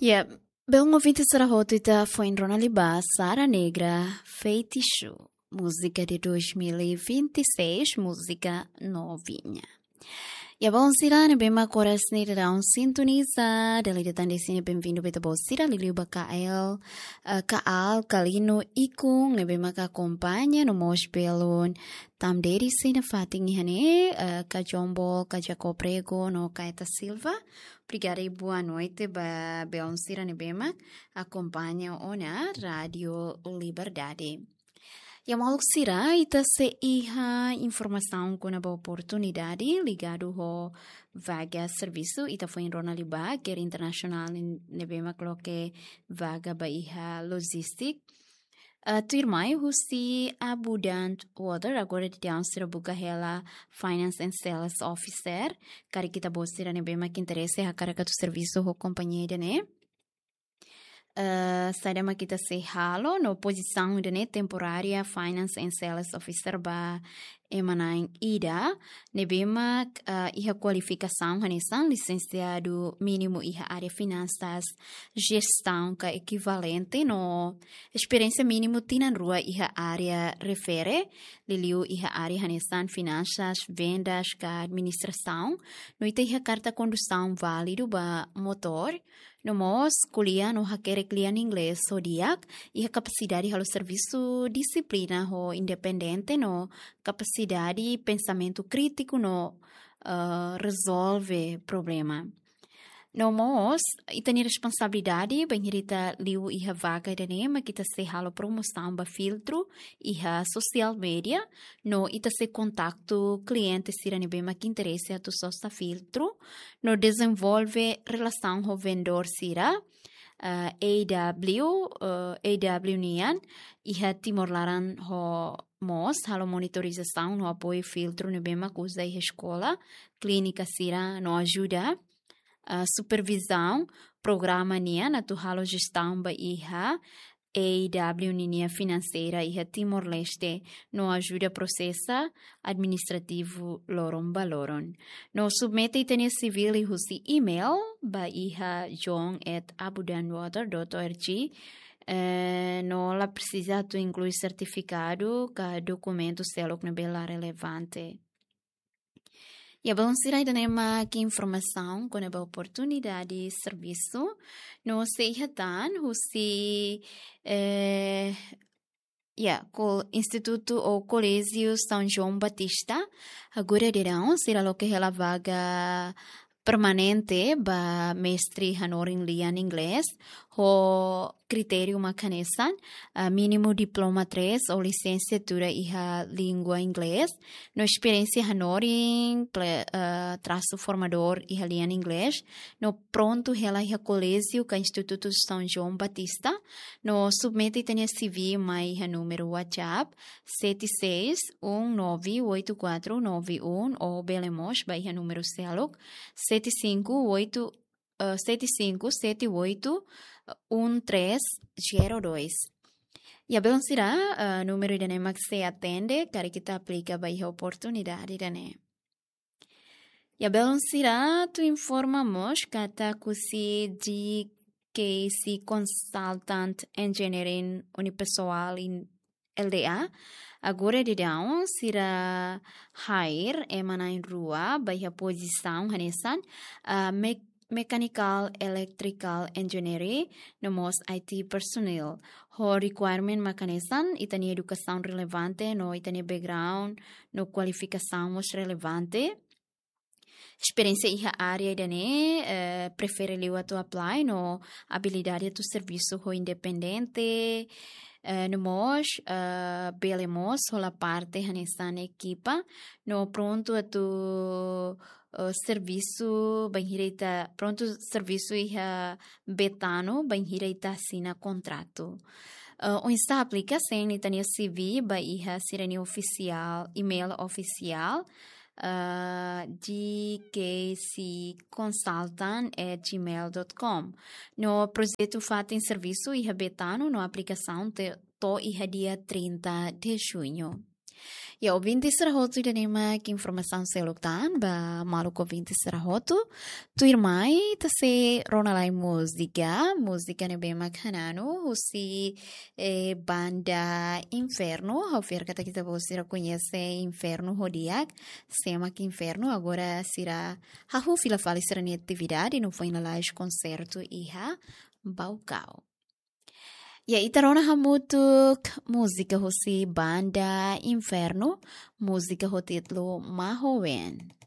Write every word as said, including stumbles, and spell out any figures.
Ya, belun ouvinte sira hotu, ita foin rona liu ba Sara Negra, Feitiço, música de dois mil e vinte e seis, música novinha. Ya, belun sira ne'ebé mak oras ne'e daudaun sintoniza, dala ida tan dezde ne'e benvindu ba ita-boot sira, liuliu ba Kael, eh, Kaal, Kalino, Ikun, ne'ebé mak akompaña, no mós belun Tamderi sei nafatin iha ne'e, eh, Kajombo, Kajakob Rego, no Kaeta Silva. Obrigada i boa noite ba belun sira ne'ebé mak akompaña ona Rádio Liberdade. Ya, maluk sira, ita sei iha informasaun kona-ba oportunidade ligadu ho vaga servisu, ita foin rona liu ba, kere internasionál ne'ebé mak loke vaga ba iha logistik. Ah, tuirmai husi Abundant Water, agora daudaun sira buka hela Finance and Sales Officer. Karik ita-boot sira ne'ebé mak interese hakarak atu servisu ho kompañia ida-ne'e. Eh, saida mak ita sei halo, no pozisaun ida-ne'e temporária Finance and Sales Officer ba ema na'in ida, ne'ebé mak, eh, iha kualifikasaun hanesan lisensiadu mínimu iha área finansas, jestaun ka ekivalente, no esperiénsia mínimu tinan rua iha área refere, liuliu iha área hanesan finansas, vendas ka administrasaun, no ita iha karta kondusaun válidu ba motór, no mós ko'alia no hakerek lian inglés ho di'ak, iha kapasidade halo servisu dixiplina ho independente no kapasidade pensamentu krítiku no, eh, rezolve problema. No mós, ita-nia responsabilidade, bainhira ita liu iha vaga ida-ne'e, mak ita sei halo promosaun ba filtru iha social media, no ita sei kontaktu kliente sira ne'ebé mak interese atu sosa filtru, no dezenvolve relasaun ho vendedór sira, eh, A W, eh, A W nian, iha Timor laran ho mós, halo monitorizasaun no apoiu filtru ne'ebé mak uza iha eskola, klínika sira no ajuda, eh, supervizaun programa nian atu halo jestaun ba iha A W ninia finanseira iha Timor-Leste no ajuda prosesa administrativu loron ba loron. No submete ita-nia C V liuhusi email ba iha john at abundantwater dot org, eh, no la presiza atu inklui sertifikadu ka dokumentu seluk ne'ebé la relevante. Ya, belun sira, ida-ne'e mak informasaun kona-ba oportunidade servisu. No sei iha tan husi, eh, ya, ko Institutu ou Koléjiu São João Batista, agora daudaun sira loke hela vaga permanente ba mestre hanorin lian inglés, ho kritériu mak hanesan, ah, mínimu diploma três ou lisensiatura iha língua inglés, no esperiénsia hanorin, ple-, ah, trasu formadór iha lian inglés, no prontu hela iha koléjiu ka Institutu São João Batista, no submete ita-nia C V mai iha númeru WhatsApp sete seis um nove oito quatro nove um, ou bele mós ba iha númeru seluk sete cinco oito, eh, sete cinco sete oito um três zero dois. Ya, belun sira, eh, númeru ida-ne'e mak sei atende, karik ita aplika ba iha oportunidade ida-ne'e. Ya, belun sira, atu informa mós katak husi G K C Consultant Engineering Unipessoal in L D A, agora daudaun sira hire ema na'in rua ba iha pozisaun hanesan, ah, me-, mechanical electrical engineering, no mós I T personnel. Ho requirement mak hanesan, ita-nia edukasaun relevante, no ita-nia background, no kualifikasaun mós relevante. Esperiénsia iha área ida-ne'e, eh, prefere liu atu apply, no abilidade atu servisu ho independente, eh, no mós, eh, bele mós hola parte hanesan ekipa, no prontu atu, eh, servisu, bainhira ita prontu servisu iha Betano, bainhira ita asina kontratu. Eh, oinsá aplika? Send ita-nia C V ba iha sira-nia ofisiál, email ofisiál, ah, G K C consultant at gmail dot com. No projetu fatin servisu iha Betano, no aplikasaun te-, to'o iha dia trinta de junho. Ya, ouvinte sira hotu, ida-ne'e mak informasaun seluk tan ba maluk ouvinte sira hotu. Tuirmai ita sei rona lai múzika, múzika ne'ebé mak hananu husi, eh, banda Inferno. Ha'u fiar katak ita-boot sira koñese Inferno ho di'ak. Sé mak Inferno, agora sira hahú fila fali sira-nia atividade no foin lalais konsertu iha Baucau. Ya, ita rona hamutuk múzika husi banda Inferno, múzika ho títulu Mahoen.